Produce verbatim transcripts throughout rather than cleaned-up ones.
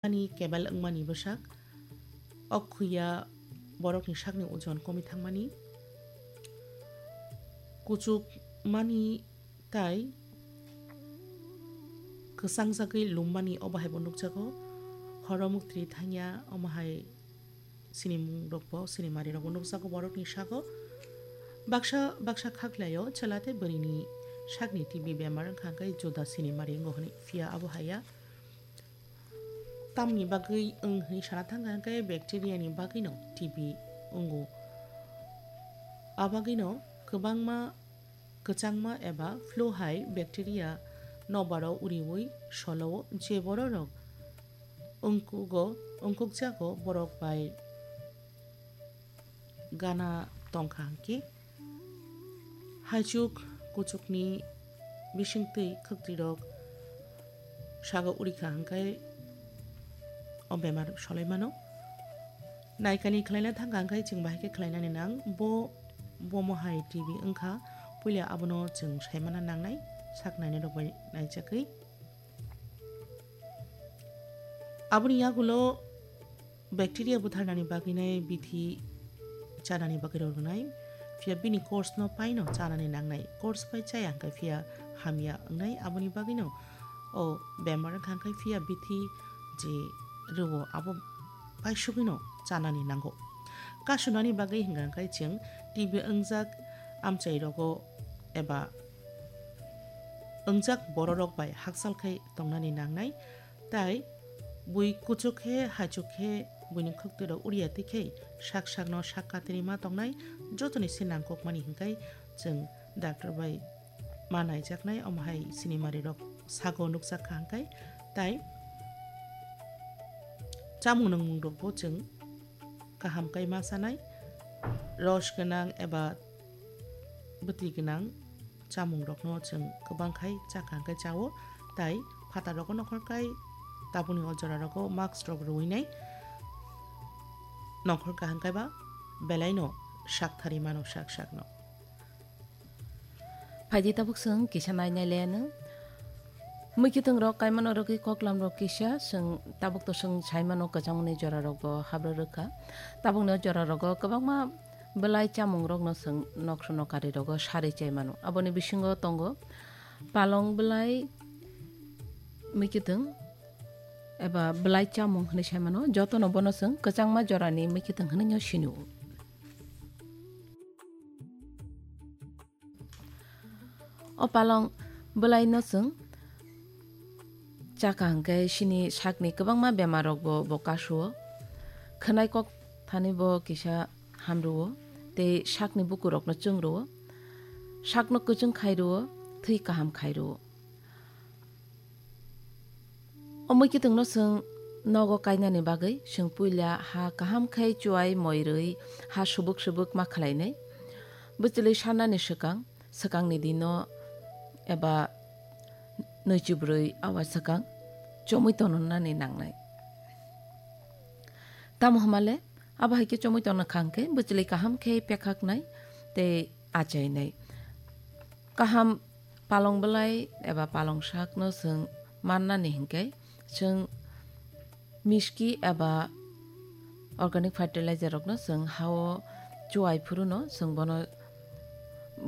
ani kebel wngmani bwsak, okhuya borokni sakni ojon komi thangmani, kuchuk mani tai kwchangjagwi lummani obo hai bo nukjago. Horo muktri thangya, omo hai sinimung rokbo, sinimari rokbo nukjago borokni sago. Baksa baksa khaklaio chwla tei bwrwini sakni T B bemar wngkha hwnkhe juda sinimari wngo hwnwi, phiya abo haiya. Tamni bagwi wng hwnwi sana thangkha hwnkhe bacteria ni bagwino T B wngo. A bagwino kwbangma kwchangma eba flu hai bacteria nokbar o uriui solo o, je bororok wngkugo, wngkukjago borok bai gana tongkha hwnkhe, haichuk kuchukni bisingtwi khwktwirok sago urikha hwnkhe o bemar solai mano. Naikani khlaina thangkha hwnkhe chwng bahai khe khlainani nang. Bo, bomo hai T B wngkha, puila abono chwng saimana nangnai, sak nainai rok bai naijakgwi. Aboni yagulo bacteria butharnani bagwinai bithi chanani bagwi rw rwnai, phiya bini course no paino chanani nangnai, course pai chaya hwnkhe phiya hamya wngnai, aboni bagwino o bemar wngkha hwnkhe phiya bithi je rwo abo paisugwino chanani nango. Kasunani bagwi hwnkha hwnkhe chwng T B wngjak amchai rogo eba wngjak bororok bai hakchal khai tongnani nangnai, tai bui kuchuk khe, haichuk khe buini khwktwirok uriya twi khe sak sakno sak katirwi ma tongnai, jotoni se nangkukmani hwnkhe chwng doctor bai ma naijaknai, omo hai sinimari rok sago nukjak kha hwnkhe, tai chamung nungmung rokbo chwng kaham kai ma chanai, ros gwnang eba bwtwi gwnang chamung rokno chwng kwbang khai chakha hwnkhe chao, tai phatar rogo nokhor kai tabukni o jora rogo mask rok rwui nai nokhor kaham kaiba belai no sak thari mano sak sak no. Phaidi tabuk chwng kisa nai nai le ano. Mwkhwtwng rok kaimano rwgwi koklam rok kisa chwng tabuk to chwng sai mano kwchangmani jora rok bo habra rwkha. Tabukni o jora rogo kwbangma belai chamung rok no chwng nokso nokari rogo sarwi chai mano. Aboni bisingo tongo palong belai mwkhwtwng eba belai chamung hinwi sai mano. Jotono bono chwng kwchangma jorani mwkhwtwng hinwi no sini o. O palong bwlaino chwng chakha hwnkhe sini sakni kwbangma bemar rokbo bo kasuo. Khwnai kok thani bo kisa hamruo tei sakni bukurokno chwngrwo. Sakno kwchwng khai rwo, thwi kaham khai rwo. O mwkhwtwngno chwng nogo kainani bagwi chwng puila ha kaham khe chuai moi rwi ha subuk subuk ma khlainai. Bwchwlwi sanani swkang, swkangni dino eba nwichibrwi awa swkang chomwi tongnani nangnai. Tamo hwnmale abo hai khe chomwi tongna kha hwnkhe bwchwlwi kaham khe pekhaknai tei achainai. Kaham palong bwlai eba palong sakno chwng mannani hinkhe, chwng miski eba organic fertilizer rokno chwng ha-o chuai phuruno chwng bono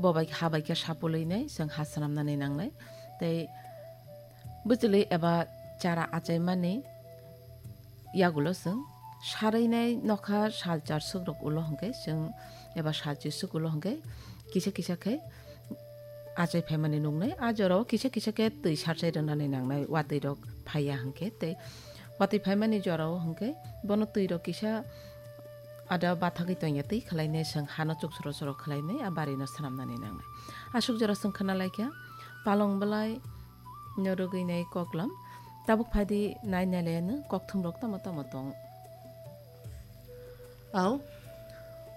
bobai ha bai khe sapulwi nai chwng ha swnamnani nangnai. Tei bwchwlwi eba chara achaimani yagulo chwng sarwi nai nokha sal char swk rok ulo hwnkhe chwng eba sal chi swk ulo hwnkhe kisa kisa khe achai phaimani nuknai. A jorao kisa kisa khe twi sarchai rwnani nangnai, watwi rok phaiya hwnkhe tei watwi phaimani jorao hwnkhe bono twi rok kisa ada bathagwi tongya twi khwlainai chwng hano chuk soro soro khwlainai a barino swnamnani nangnai. Aswk jora chwng khwna laikha palong bwlai no rwgwi nai koklam. Tabuk phaidi nai nai le ano kokthum rok tamo tamo tong. Au,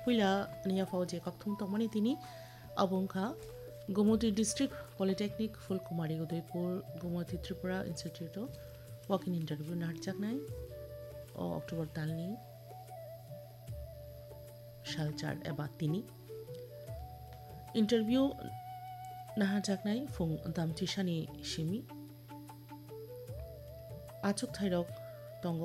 puila ani yaphao je kokthum tongmani tini abo wngkha Gomoti District Polytechnic Phulkumari Udaipur Gomoti Tripura Institute o walk-in interview narwkjaknai o October talni salchar eba tini. Interview naharjaknai phung damchisani simi. Achuk thairok tongo